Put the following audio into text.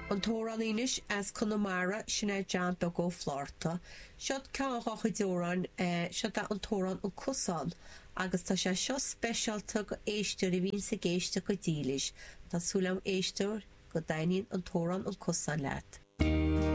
An t-amhránaí anois as Conamara, sin é John Beag Ó Flátharta. Seod ceann dhá chuid amhráin, seod é an t-amhrán An Cosán agus tá sé seo speisialta go éisteoir a bhíonns ag éisteacht go dílis. Tá súil agam éisteoir go dtaitníonn an t-amhrán An Cosán leat.